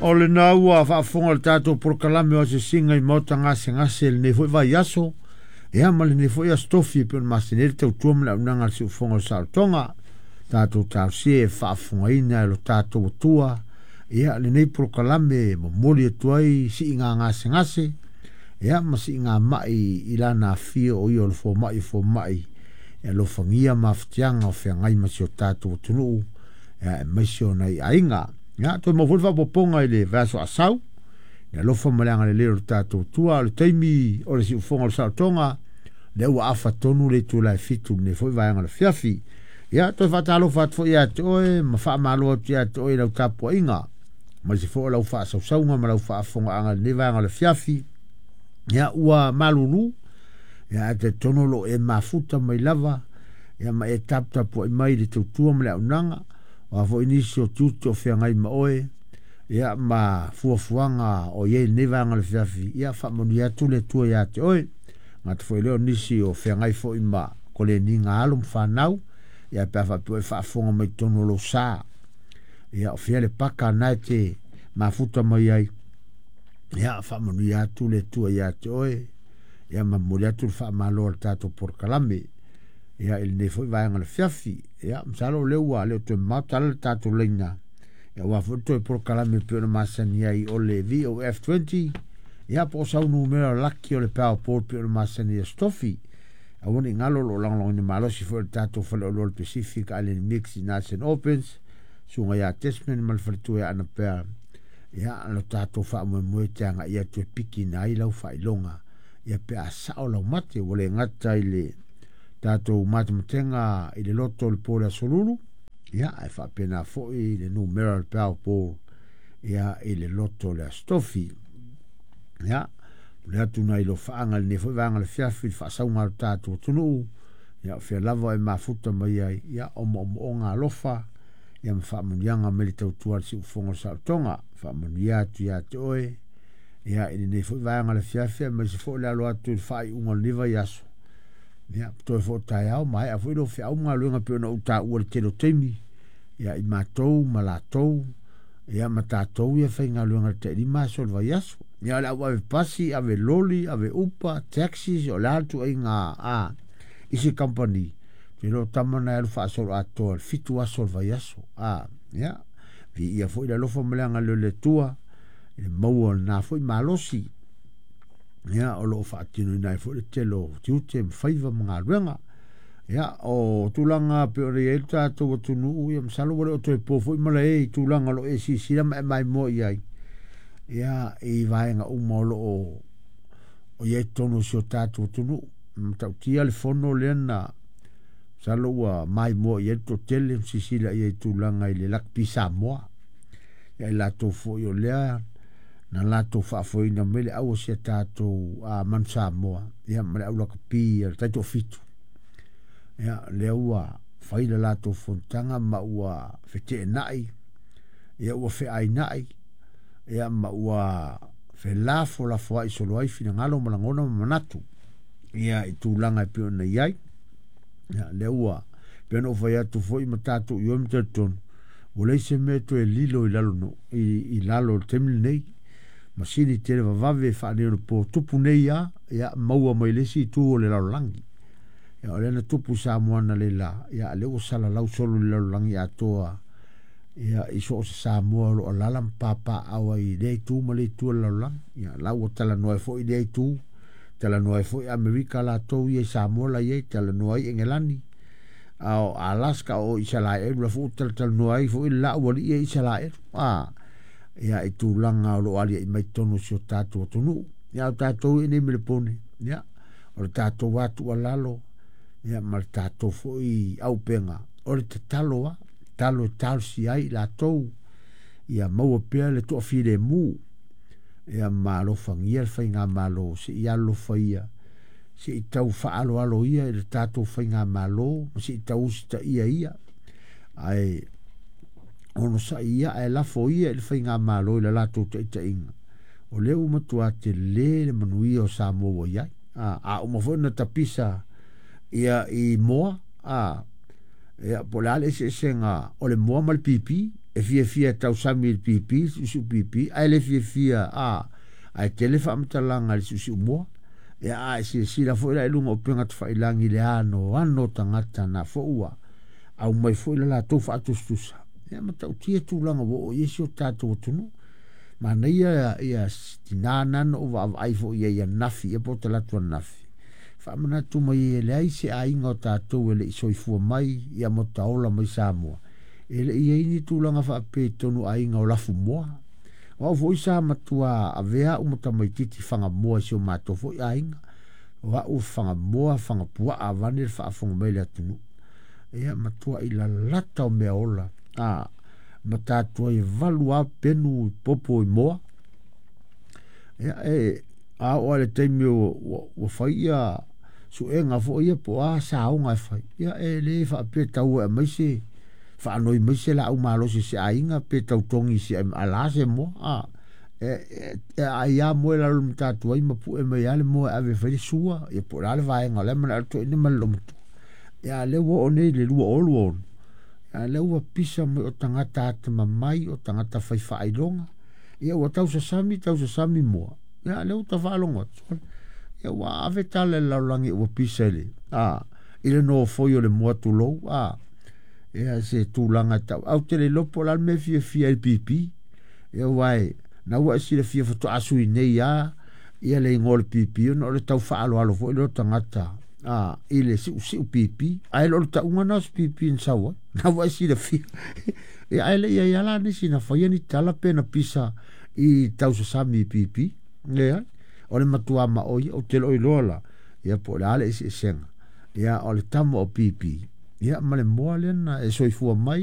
O lena ua faafofoga le tatou polokalame o asiasiga i maota gasegase i lenei foi vaiaso, ia ma lenei foi aso tofi e pei ona masani ai le tautua ma le auaunaga a le siufofoga o le saolotoga. Tatou talosia e faafofogaina e lo tatou Atua ia lenei polokalame e momoli atu ai siiga gasegase ia ma siiga mai i lana afio o ia o le fomai o fomai e alofagia mafatiaga o feagai ma si o tatou atunuu ia aemaise o nai aiga. Ia, toe maua foi le faaopoopoga i le vaiaso asau, le alofa ma le agalelei o le tatou Atua. O le taimi o le siufofoga o le saolotoga, lea ua afa tonu le itula e 7 i lenei foi vaega o le afiafi. Ia, toe faatalofa atu foi ia te oe ma faamalo atu ia te oe i lau tapuaiga, aemaise foi o lau faasausauga ma lau faafofogaaga i lenei vaega o le afiafi. Ia, ua malulu, ia, ae talitonu o lo o e mafuta mai lava, ia, ma e taputapuai mai i le tautua ma le auaunaga. O a foi nisi o tiute o feagai ma oe, ia, ma fuafuaga o i ai i lenei vaega o le afiafi, ia, faamanuia atu le Atua ia te oe. Gata foi lea o nisi o feagai foi ma koleniga alo ma fanau, ia, pe a faapea e faafofoga mai totonu o lou sa. Ia, o fea le paka na e te mafuta mai ai, ia, faamanuia atu le Atua ia te oe, ia, ma momoli atu le faamalo a le tatou polokalame, ia, i lenei foi vaega o le afiafi. Ia, masalo o lea ua le o toe mamao tala le tatou laina, ia, aua foi le toe polokalame e pei ona masani ai o le VOF20, ia, po o sau numera laki o le Powerball e pei ona masani ai Aso Tofi. Aua ne i galo o lo o lagolagoina malosi foi le tatou faleoloa o le Pacific Island Mix i Nelson Opens, susuga ia Desmond ma le faletua ia Anapea, ia, lo tatou faamoemoe te agai atu e pikina ai lau faailoga, ia, pe a sao lau mate, ua le gata i le tatou matematega i le loto o le po o le aso lulu, ia, ae faapena foi le numera o le Powerball, ia, i le loto o le aso tofi. Ia, momoli atu nai lofaaga i lenei foi vaega o le afiafi i le faasauga a lo tatou atunuu, ia, o fea lava e mafuta mai ai, ia, o moomooga alofa, ia, ma faamanuiaga mai le tautua a le siufofoga o le saolotoga. Faamanuia atu ia te oe, ia, i lenei foi vaega o le afiafi, aemaise foi le alo atu i le faaiuga o lenei vaiaso. Ia, toe foi o taeao, maea foi lou feau ma galuega pei ona ou taua i le tele o taimi, ia, i matou ma latou, ia, ma tatou ia faigaluega i le tailima aso o le vaiaso. Ia, o le au ave pasi, ave loli, ave upa, taxis, o le a le tuaiga a isi company, te iloa o tama na e alu faasoloatoa i le 7 aso o le vaiaso. A, ia, viia foi le alofa ma le agalelei o le Atua i le maua o lena foi malosi. Ia, o lo o faatinoina ai foi le tele o tiute ma faiva ma galuega. Ia, o tulaga pei ona i ai le tatou atunuu, ia, masalo ua le o toe po foi malae i tulaga o lo o e silasila ma e maimoa i ai, ia, i vaega uma o lo o i ai totonu o si o tatou atunuu. Matautia le fono lea na masalo ua maimoa i ai le toatele ma silasila i ai i tulaga i le Lakapi Samoa. Ia, i latou foi o lea na latou faafoeina mai le au o si a tatou Manu Samoa, ia, ma le au lakapi a le taitoafitu. Ia, lea ua fai le latou fonotaga ma ua feteenai, ia, ua feainai, ia, ma ua felafolafoai solo ai finagalo ma lagona ma manatu, ia, i tulaga e pei ona i ai. Ia, lea ua pei ona ou fai atu foi ma tatou ioe ma talitonu, ua leai se mea toe lilo i lalo no, i lalo o le taimi lenei. Masini televavave faaneionapo tupu nei a, ia, maua mai le isi itu o le lalolagi. Ia, o lea na tupu i Samoa analeila, ia, lea ua salalau solo i le lalolagi atoa, ia, i so o se Samoa o lo o alaala ma papaaao ai i lea itu ma lea itu o le lalolagi. Ia, la ua talanoa ai foi lea itu, talanoa ai foi Amerika latou ia i Samoa la i ai, talanoa ai Engelani, a o Alaska o Isalaelu, la foi ua talatalanoa ai foi le laaualii ia i Isalaelu. A, ia, i tulaga o lo o aliae mai totonu o si o tatou atunuu. Ia, o tatou i nei Melepone, ia, o le tatou atualalo, ia, ma le tatou foi auupega, o le tatalo a, tatalo e talosia ai i latou, ia maua pea le toafilemu, ia, ma alofagia le faigamalo, se i alolofa ia, se i tau faaaloalo ia i le tatou faigamalo, ma se i tau usitaia ia, ae onosai ia, ae lafo ia i le faigamalo i le latou taitaiga. O lea ua matua tele le manuia o Samoa ua i ai. A uma foi na tapisa ia i moa, a, ia, po o le a le eseesega o le moa ma le pipi. E fiafia e tausami i le pipi, siusiu pipi, ae le fiafia a ae tele faamatalaga i le siusiu moa. Ia a e silasila foi la i luga o upega tafailagi i le anoano o tagata na foi ua aumai foi le latou faatusatusa. Ia matautia tulaga ua oo i ai si o tatou atunuu. Manaia ia tina na na ou vaavaai foi i ai ananafi, ia po o talaatu ananafi. Faamanatu mai e leai se aiga o tatou e le i soifua mai ia mo taola mai Samoa. E le i ai ni tulaga faapea i totonu o aiga o lafumoā. O au foi sa matua avea au ma tamaitiiti fagamoa i si o matou foi aiga. O au fagamoa, fagapuaa vaeane le faafofoga mai a le atunuu. Ia matuai lalata o meaola ma tatou ai e 8 lava penu popo i moa. Ia e a oo lava i le taimi ua fai ia suega foi ia po o a saoga e fai, ia e le faapea e tau e aumai se faanoi mai se laau malosi a se aiga pe tautogi i se ala se moa. E ai lava moa i lalo o le matatu ai ma pue mai lava le moa e ave e fai le sua, ia po o le a le vaega o la e manao le toeaina ma le loomatua. Ia a o lea ua oo nei i le 2026, a o lea ua pisa mai o tagata atamamai, o tagata fai faailoga. Ia ua tausasami tausasami moa, ia a o lea ua ta faalogo atu, ia ua ave tala i le lalolagi ua pisa i le i le nofoi o le moa tulou ia se tulaga e tau. Ae ou te le iloa po o le a le mea e fiafia ai i le pipi. Ia aua na ua e silafia faatoa sui nei lava ia le igoa o le pipi ona o le tau faaaloalo foi lea o tagata i le siusiu pipi. Ae le o le tauga lena o se pipi na sau ai. Na ua e silafia. Ia ae le i i ai lava la nisi na faia ni tala pe na pisa i tausasami i pipi. Leai. O le matua maoi, ou te le o iloa la, ia po o le a le eseesega. Ia o le tama o pipi, ia ma le moa lea na e soifua mai.